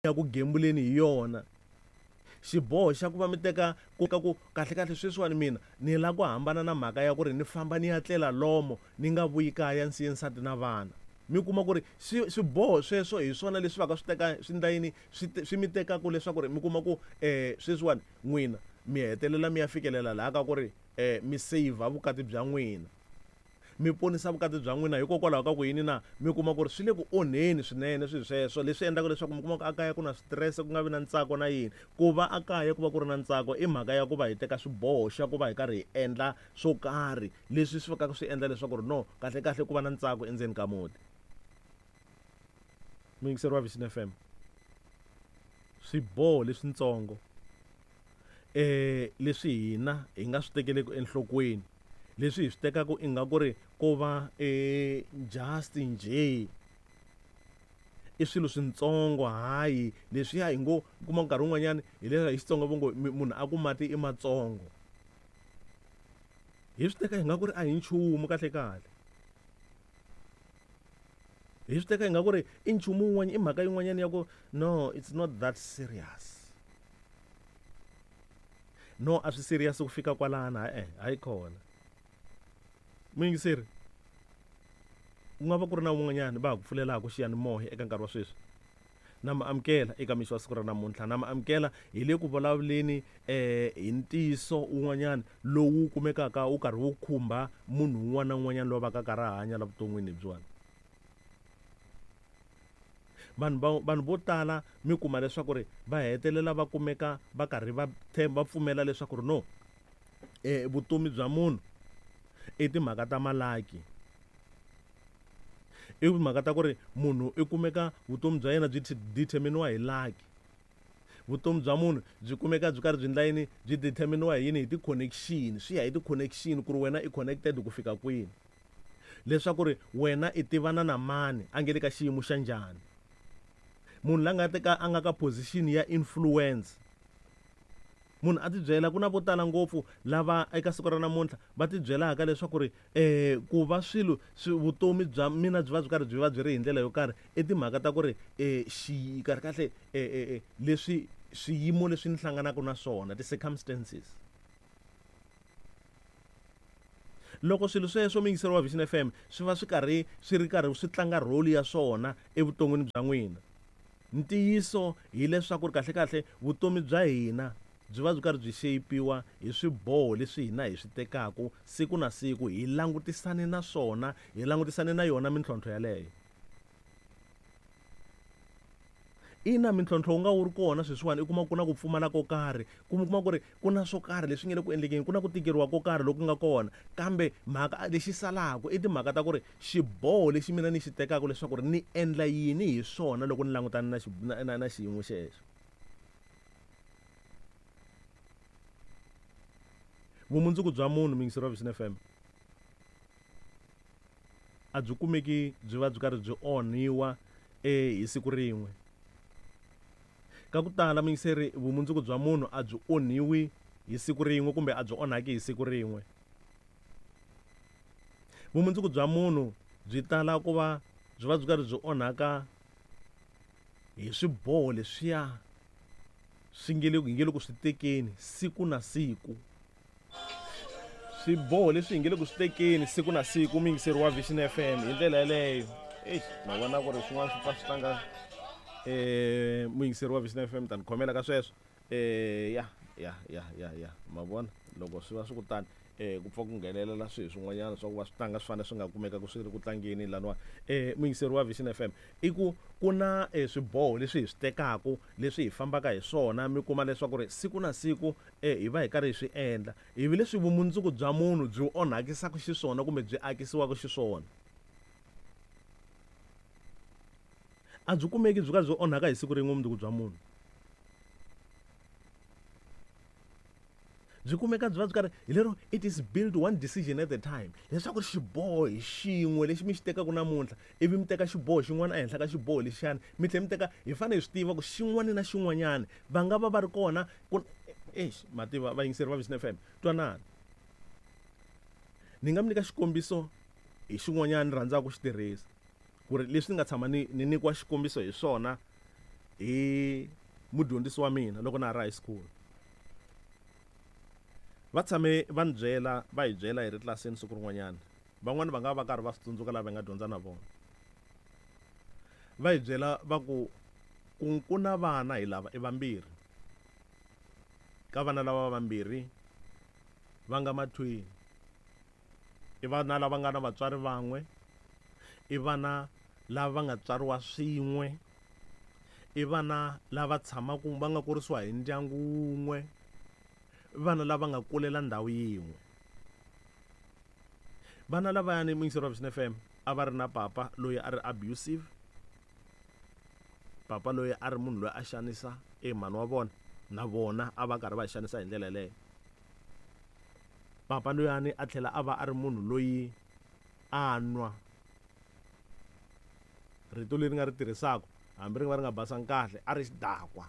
Ya ku gembuleni hi yona. Xiboho xa ku va mi teka ku ka ku kahle-kahle sweswiwani mina ni la ku hambana na mhaka ya ku ri ni famba ni ya tlela lomo ni nga vuyi kaya ni siye nsati na vana. Mi kuma ku ri swi swiboho sweswo hi swona leswi va ka swi teka swi ndla yini swi swi mi tekaku leswaku ri mi kuma ku sweswiwani n'wina mi hetelela mi ya fikelela laha ka ku ri mi seyivha vukati bya n'wina. Mi ponisa vukati bya n'wina hikokwalaho ka ku yini na? Mi kuma ku ri swi le ku onheni swinene swilo sweswo, leswi endlaka leswaku mi kuma ku ekaya ku na switirese, ku nga vi na ntsako na yini. Ku va ekaya ku va ku ri na ntsako i mhaka ya ku va hi teka swiboho xa ku va hi karhi hi endla swo karhi leswi swi fikaka swi endla leswaku ri no kahle-kahle ku va na ntsako endzeni ka muti. Muyingiseri wa Vision FM, swiboho leswintsongo leswi hina hi nga swi tekeleki enhlokweni leswi hi swi tekaka ingaku ri ko va just njhe i swilo swintsongo hayi leswiya hi ngo kuma nkarhi wun'wanyani hi leswi hi Xitsonga vo ngo munhu a ku mati i matsongo hi swi teka ingaku ri a hi nchumu kahle kahle hi swi teka ingaku ri i nchumu wun'wana i mhaka yin'wanyana ya ku no it's not that serious. No a swi serious ku fika kwalano ha-e hayi khona muyingiseri ku nga va ku ri na un'wanyana va ha ku pfulelaka xiyanimoya eka nkarhi wa sweswi na mi amukela eka mixo wa siku ra namuntlha na mi amukela hi le ku vulavuleni um hi ntiyiso wun'wanyana lowu kumekaka wu karhi wu khumba munhu un'wana na un'wanyana loyi va ka karhi a hanya la vuton'wini lebyiwani. Vanhu va vanhu vo tala mi kuma leswaku ri va hetelela va kumeka va karhi va va pfumela leswaku ri no vutomi bya munhu i timhaka ta malaki. I timhaka ta ku ri munhu i kumeka vutomi bya yena byi determine-iwa hi lucky. Vutomi bya munhu byi kumeka byi karhi byi endla yini byi determine-iwa hi yini hi ti-connection swi ya hi ti-connection ku ri wena i connected ku fika kwini. Leswaku ri wena i tivana na mani a nge le ka xiyimo xa njhani. Munhu la nga teka a nga ka position ya influence. Munhu a tibyela ku na vo tala ngopfu lava eka siku ra namuntlha va tibyelaka leswaku ri ku va swilo swi vutomi bya mina byi va byi karhi byi va byi ri hi ndlela yo karhi i timhaka ta ku ri xi kahle kahle leswi swiyimo leswi ni hlanganaka na swona ti-circumstances. Loko swilo sweswo muyingiseri wa Vision FM swi va swi karhi swi ri karhi swi tlanga role ya swona evuton'wini bya n'wina, ntiyiso hileswaku ri kahle-kahle vutomi bya hina byi va byi karhi byi shape-iwa hi swiboho leswi hina hi swi tekaka siku na siku hi langutisane na swona, hi langutisane na yona mintlhontlho yaleyo. Ina, mintlhontlho wu nga wu ri kona sweswiwani, u kuma ku na ku pfumala ko karhi, kumbe u kuma ku ri ku na swo karhi leswi nga le ku endlekeni, ku na ku tikeriwa ko karhi loku nga kona. Kambe mhaka lexi salaka i timhaka ta ku ri xiboho lexi mina ni xi tekaka leswaku ri ni endla yini hi swona loko ni langutane na na na na xiyimo xexo. Vumundzuku bya munhu, muyingiseri wa Vision F_M. A byi kumeki byi va byi karhi byi onhiwa hi siku rin'we. Ka ku tala muyingiseri, vumundzuku bya munhu a byi onhiwi hi siku rin'we kumbe a byi onhaki hi siku rin'we. Vumundzuku bya munhu byi tala ku va byi va byi karhi byi onhaka hi swiboho leswiya swi nge le hi nge le ku swi tekeni siku na siku. Swiboho leswi hi nge le ku swi tekeni siku na siku muyingiseri wa Vision FM hi ndlela yeleyo. Eish ma vona ku ri swin'wana swi pfa swi tlanga muyingiseri wa Vision FM ta ni khomela ka sweswo. Ya ya ya ya ya ma vona loko swi va swi ku tani ku pfa ku nghenelela swilo swin'wanyana swa ku va swi tlanga swi fanele swi nga kumeka ku swi ri ku tlangeni laniwani. Muyingiseri wa Vision F_M i ku ku na swiboho leswi hi swi tekaku leswi hi fambaka hi swona mi kuma leswaku ri siku na siku hi va hi karhi hi swi endla ivi leswi vumundzuku bya munhu byi onhakisaka xiswona kumbe byi akisiwaka xiswona. A byi kumeki byi karhi byi onhaka hi siku rin'we vumundzuku bya munhu. Byi kumeka byi va byi karhi hi lero it is built one decision at a time leswaku xiboho hi xin'we lexi mi xi tekaka namuntlha ivi mi teka xiboho xin'wana ehenhla ka xiboho lexiyani mi tlhela mi teka hi fanele hi swi tiva ku xin'wana na xin'wanyana va nga va va ri kona ku eish ma tiva vayingiseri va Vision F_M twanani ni nga mi nyika xikombiso hi xin'wanyana ni rhandzaka ku xi tirhisa ku ri leswi ni nga tshama ni ni nyikiwa xikombiso hi swona. hi mudyondzisi wa mina loko na ha ri high school. Va tshame va ni byela, va hi byela hi ri tlilasini siku rin'wanyana. Van'wani va nga va karhi va swi tsundzuka lava hi nga dyondza na vona. Va hi byela va ku, ku ku na vana hi lava i vambirhi. Ka vana lava vambirhi va nga mathwini. I vana lava nga na vatswari van'we, i vana lava va nga tswariwa swin'we, i vana lava tshamaka va nga kurisiwa hi ndyangu wun'we, i vana lava nga kulela ndhawu yin'we. Vana lavayani muyingiseri wa Vision FM a va ri na papa loyi a ri abusive, papa loyi a ri munhu loyi a xanisa e mhani wa vona, na vona a va karhi va xanisa hi ndlela yeleyo. Papa loyani a tlhela a va a ri munhu loyi a nwa. Rito leri nga ri tirhisaka hambi ri nga va ri nga basanga kahle, a ri xidakwa.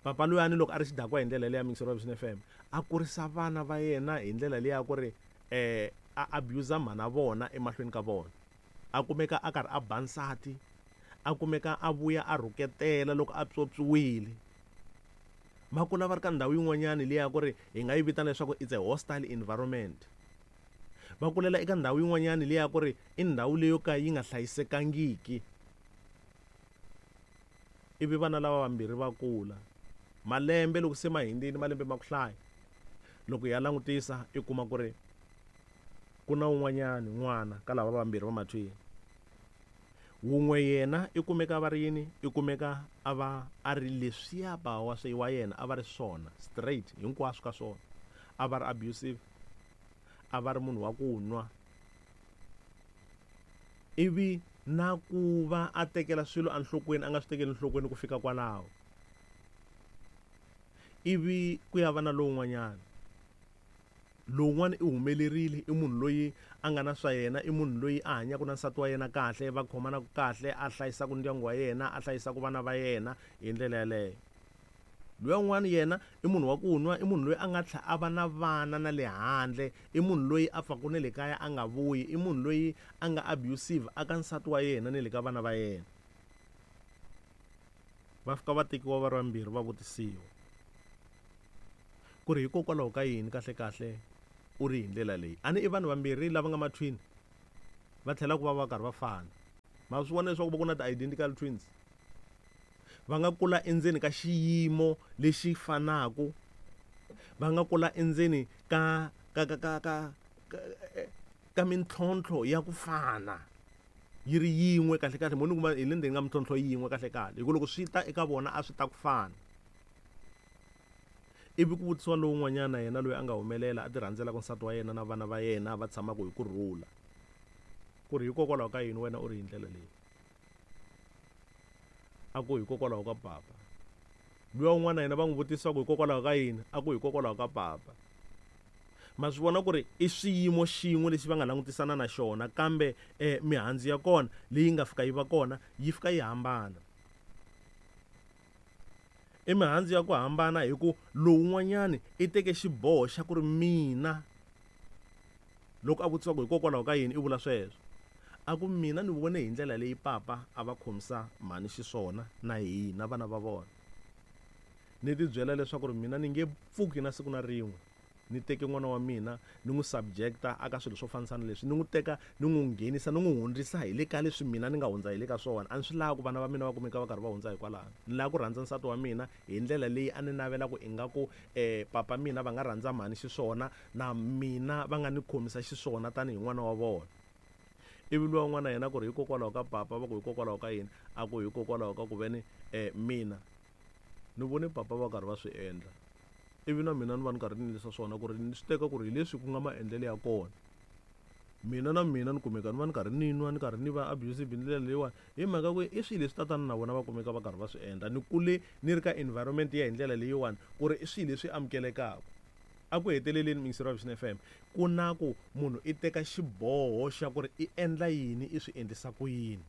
Papa loyani loko a ri xidakwa hi ndlela leya muyingiseri wa Vision FM, a kurisa vana va yena hi ndlela leya ku ri a abuse mhana vona emahlweni ka vona. A kumeka a karhi a ba nsati, a kumeka a vuya a rhuketela loko a pyopyiwile. Va kula va ri ka ndhawu yin'wanyani leya ku ri hi nga yi vitana leswaku it's a hostile environment. Va kulela eka ndhawu yin'wanyani leya ku ri i ndhawu leyo ka yi nga hlayisekangiki. Ivi vana lava vambirhi va kula. Malembe loko se ma hundzile, malembe ma ku hlaya, loko hi ya langutisa i kuma ku ri ku na un'wanyani n'wana ka lava vambirhi va mathwini. Wun'we yena i kumeka va ri yini? I kumeka a va a ri leswiya bava wa swi wa yena a va ri swona straight hinkwaswo ka swona. A va ri abusive, a va ri munhu wa ku nwa. Ivi na ku va a tekela swilo enhlokweni a nga swi tekeli enhlokweni ku fika kwalaho. Ivi ku ya va na lowun'wanyana. Lowun'wana i humelerile, i munhu loyi a nga na swa yena, i munhu loyi a hanyaka na nsati wa yena kahle, va khomanaka kahle, a hlayisaka ndyangu wa yena, a hlayisaka vana va yena hi ndlela yaleyo. Luya un'wana yena i munhu wa ku nwa, i munhu loyi a nga tlhela a va na vana na le handle, i munhu loyi a pfaka na le kaya a nga vuyi, i munhu loyi a nga abusive aka nsati wa yena ni le ka vana va yena. Va fika va tekiwa va ri vambirhi va vutisiwa ku ri hikokwalaho ka yini kahle kahle u ri hi ndlela leyi. A ni i vanhu vambirhi lava nga mathwini va tlhela ku va va karhi va fana. Ma swi vona leswaku va ku na ti-identical twins, va nga kula endzeni ka xiyimo lexi fanaka, va nga kula endzeni ka ka ka ka ka ka, ka mintlhontlho ya ku fana yi ri yin'we kahle kahle. Mo ni kuma hi le ndzeni ka mintlhontlho yin'we kahle kahle, hi ku loko swi ta eka vona a swi ta ku fana. Ivi ku vutisiwa lowun'wanyana yena loyi a nga humelela a ti rhandzelaka nsati wa yena na vana va yena va tshamaka hi ku rhula, ku ri hikokwalaho ka yini wena u ri hi ndlela leyi? A ku hikokwalaho ka papa. Luya un'wana yena va n'wi vutisa ku hikokwalaho ka yini? A ku hikokwalaho ka papa. Ma swi vona ku ri i xiyimo xin'we lexi va nga langutisana na xona, kambe mihandzu ya kona leyi nga fika yi va kona yi fika yi hambana. I mihandzu ya ku hambana hi ku lowun'wanyani i teke xiboho xa ku ri mina, loko a vutisiwa ku hikokwalaho ka yini i vula sweswo, a ku mina ni vone hi ndlela leyi papa a va khomisa mhani xiswona na hina vana va vona. Ni ti byela leswaku ri mina ni nge pfuki na siku na rin'we ni teke n'wana wa mina ni n'wi subjecta aka swilo swo fanisana leswi, ni n'wi teka ni n'wi nghenisa ni n'wi hundzisa hi le ka leswi mina ni nga hundza hi le ka swona. A ni swi lavi ku vana va mina va kumeka va karhi va hundza hikwalaho. Ni lava ku rhandza nsati wa mina hi ndlela leyi a ni navela ku ingaku papa mina va nga rhandza mhani xiswona na mina va nga ni khomisa xiswona tanihi n'wana wa vona. Ivi luya un'wana yena ku ri hikokwalaho ka papa, va ku hikokwalaho ka yini? A ku hikokwalaho ka ku veni mina ni vone papa va karhi va swi endla, ivi na mina ni va ni karhi ni endlisa swona, ku ri ni swi teka ku ri hi leswi ku nga maendlelo ya kona. Mina na mina ni kumeka ni va ni karhi ni nwa, ni karhi ni va abusive hi ndlela leyiwani, hi mhaka ku i swilo leswi tatana na vona va kumeka va karhi va swi endla. Ni kule ni ri ka environment ya hi ndlela leyiwani, ku ri i swilo leswi amukelekaka. A ku heteleleni muyingiseri wa Vision FM, ku na ku munhu i teka xiboho xa ku ri i endla yini, i swi endlisa ku yini.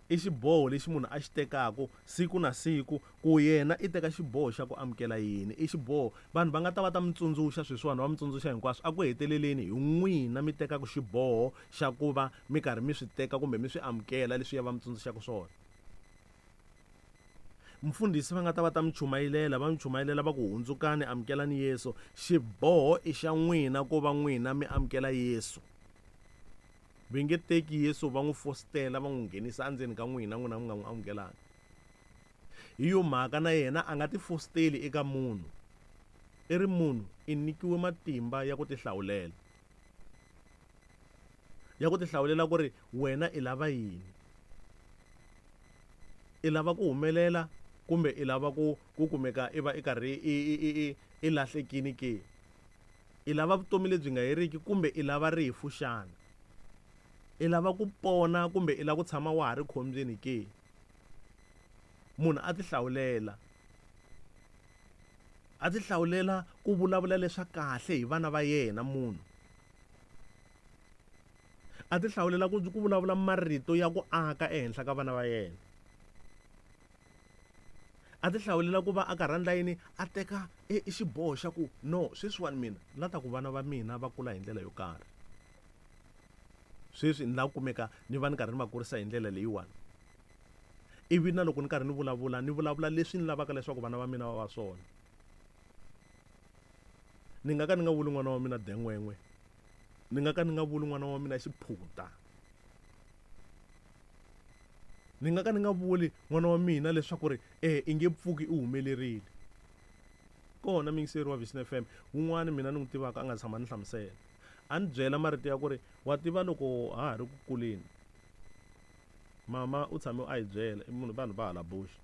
I xiboho lexi munhu a xi tekaku siku na siku ku yena i teka xiboho xa ku amukela yini. I xiboho vanhu va nga ta va ta mi tsundzuxa sweswiwani va mi tsundzuxa hinkwaswo a ku heteleleni hi n'wina mi tekaku xiboho xa ku va mi karhi mi swi teka kumbe mi swi amukela leswiya va mi tsundzuxaka swona. Mfundhisi va nga ta va ta mi chumayilela va mi chumayilela va ku hundzukani amukelani Yesu. Xiboho i xa n'wina ku va n'wina mi amukela Yesu. Va nge teki Yesu va n'wi fositela va n'wi nghenisa endzeni ka n'wina n'wina mi nga n'wi amukelanga. Hi yo mhaka na yena a nga ti fositeli eka munhu. I ri munhu i nyikiwe matimba ya ku tihlawulela. Ya ku tihlawulela ku ri wena i lava yini. I lava ku humelela kumbe i lava ku ku kumeka i va i karhi i i i i i lahlekini ke? I lava vutomi lebyi nga heriki kumbe i lava rifu xana? I lava ku pona kumbe i lava ku tshama wa ha ri khombyeni ke? Munhu a tihlawulela. A tihlawulela ku vulavula leswa kahle hi vana va yena munhu. A tihlawulela ku ku vulavula marito ya ku aka ehenhla ka vana va yena. A ti hlawulela ku va a karhi a ndla yini a teka e, e xiboho xa ku no sweswiwani mina ni la ta ku vana va mina va kula hi ndlela yo karhi sweswi ni la kumeka ni va ni karhi ni va kurisa hi ndlela leyiwani ivi na loko ni karhi ni vulavula ni vulavula leswi ni lavaka leswaku vana va mina va va swona ni nga ka ni nga vuli n'wana wa mina den'wen'we ni nga ka ni nga vuli n'wana wa mina xiphuta Ni nga ka ni nga vuli n'wana wa mina leswaku ri e i nge pfuki i humelerile. Kona muyingiseri wa Vision FM wun'wana mina ni n'wi tivaka a nga tshama ni hlamusela. A ni byela marito ya ku ri wa tiva loko ha ha ri ku kuleni mama u tshame a hi byela i munhu vanhu va hala Bush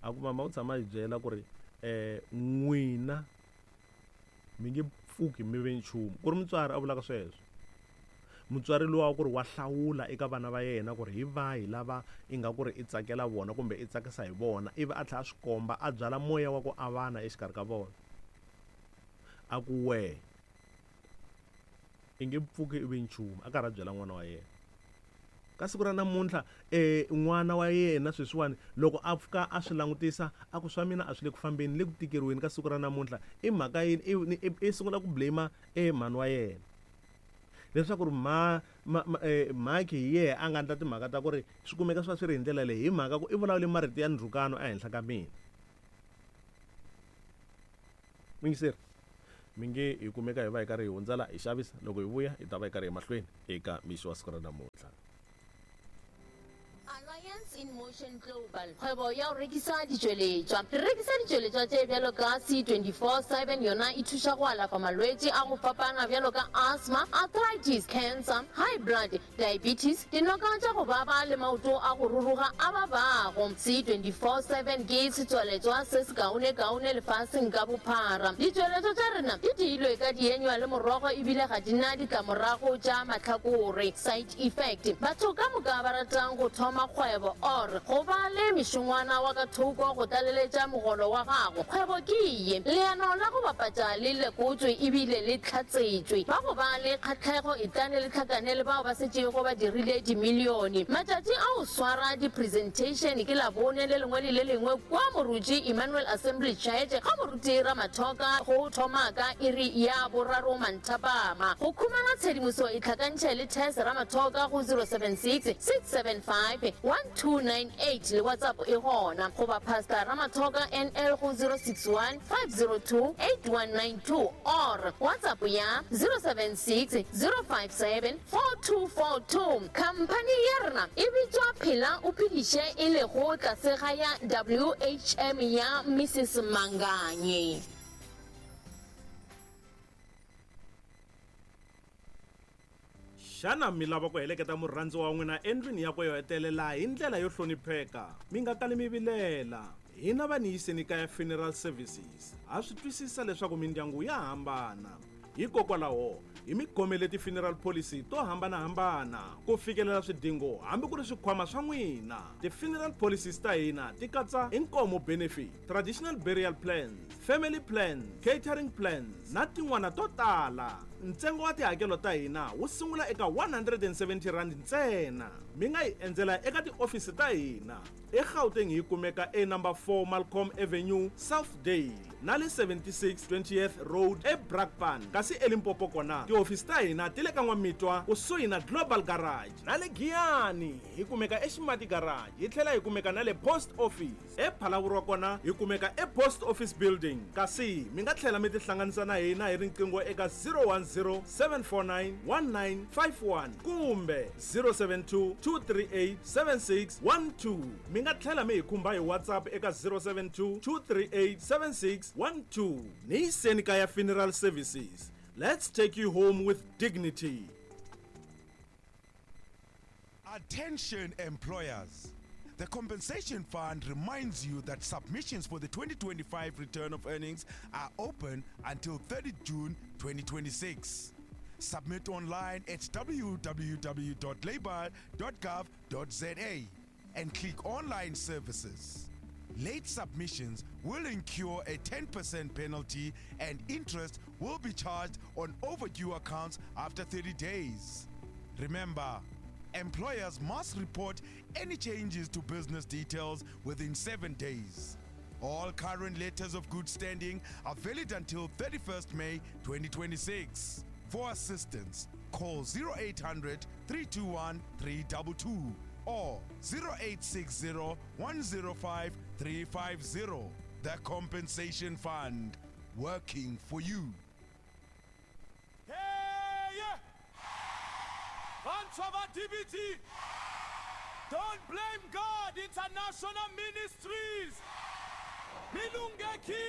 a ku mama u tshame a hi byela ku ri n'wina mi nge pfuki mi ve nchumu ku ri mutswari a vulaka sweswo mutswari luwa wa ku ri wa hlawula eka vana va yena ku ri hi vahi lava ingaku ri i tsakela vona kumbe i tsakisa hi vona ivi a tlhela a swi komba a byala moya wa ku avana exikarhi ka vona a ku wehe i nge pfuki i ve nchumu a karhi a byela n'wana wa yena Ka siku ra namuntlha, e n'wana wa yena sweswiwani loko a pfuka a swi langutisa a ku swa mina a swi le ku fambeni le ku tikeriweni ka siku ra namuntlha i mhaka yini i i sungula ku blame e mhani wa yena leswaku ri mha ma ma mhakhi hi yehe a nga ndla timhaka ta ku ri swi kumeka swi va swi ri hi ndlela leyi hi mhaka ku i vulavule marito ya ndzhukano ehenhla ka mina. Muyingiseri, mi nge hi kumeka hi va hi karhi hi hundza la hi xavisa, loko hi vuya hi ta va hi karhi hi mahlweni eka mixo wa siku ra namuntlha. Alliance in Motion Global, kgwebo ya go rekisa ditšweletšwa. Re rekisa ditšweletšwa tše bjalo ka C24 7, yona e thuša go alafa malwetši a go fapana bjalo ka asthma, arthritis, cancer, high blood, Diabetes, dinoka tša go baba le maoto a go ruruga a babago. C24/7 ke setswaletšwa se sekaonekaone lefaseng ka bophara. Ditšweletšwa tša rena di diilwe ka dienywa le morogo ebile ga di na ditlamorago tša mahlakore, side effect. Batho ka moka ba ratang go thoma kgwebo or go ba le mešongwana wa ka thoko go tlaleletša mogolo wa gago, kgwebo ke ye. Leano la go bapatša le lekotšwe ebile le hlatsetšwe. Ba go ba le kgahlego etlane le hlakane le bao ba setšego ba dirile dimilione. Matšatši a go swara di-presentation ke Labone le lengwe le le lengwe kua Moruti Emmanuel Assembly Church ga Moruti Ramathoka go thoma ka iri ya boraro manthapama. Go khumana tshedimoso itlhakantšhe le Tess Ramathoka go 076 675 1298 le WhatsApp e gona goba Pastor Ramathoka NL go 061 502 8192 or WhatsApp ya 076 057 4242. Khamphani ya rena e bitšwa Phela o Phediše e lego tlase ga ya WHM ya Mrs Manganye. Xana mi lava ku heleketa murhandziwa wa n'wina endlwini yakwe yo hetelela hi ndlela yo hlonipheka? Mi nga kali mi vilela. Hina va Niyiseni Kaya Funeral Services ha swi twisisa leswaku mindyangu ya hambana. Hikokwalaho, hi mi khomele ti-funeral policy to hambana-hambana ku fikelela swidingo hambi ku ri swikhwama swa n'wina. Ti-funeral policies ta hina ti katsa inkomo benefit, traditional burial plans, family plans, catering plans na tin'wana to tala. Ntsengo wa tihakelo ta hina wu sungula eka R170 ntsena. Mi nga hi endzela eka tiofisi ta hina eGauteng hi kumeka e number 4 Malcolm Avenue, Southdale na le 76 20th Road eBrakpan, kasi eLimpopo kona tihofisi ta hina ti le ka N'wamitwa kusuhi na Global Garage, na le Giyani hi kumeka eXimati Garage, hi tlhela hi kumeka na le Post Office ePhalaborwa kona hi kumeka ePost Office Building, kasi mi nga tlhela mi tihlanganisa na hina hi riqingho eka 010 749 1951 kumbe 072 238 7612. Mi nga tlhela mi hi khumba hi WhatsApp eka 072 238 7612. Ni yiseni kaya Funeral Services. Let's take you home with dignity. Attention employers. The Compensation Fund reminds you that submissions for the 2025 return of earnings are open until 30 June 2026. Submit online at www.labour.gov.za and click Online Services. Late submissions will incur a 10% penalty and interest will be charged on overdue accounts after 30 days. Remember, employers must report any changes to business details within 7 days. All current letters of good standing are valid until 31st May 2026. For assistance, call 0800 321 322 or 0860 105 350. The Compensation Fund, working for you. Hey! Vantshwa va DBT! Don't blame God International Ministries! Milungeki!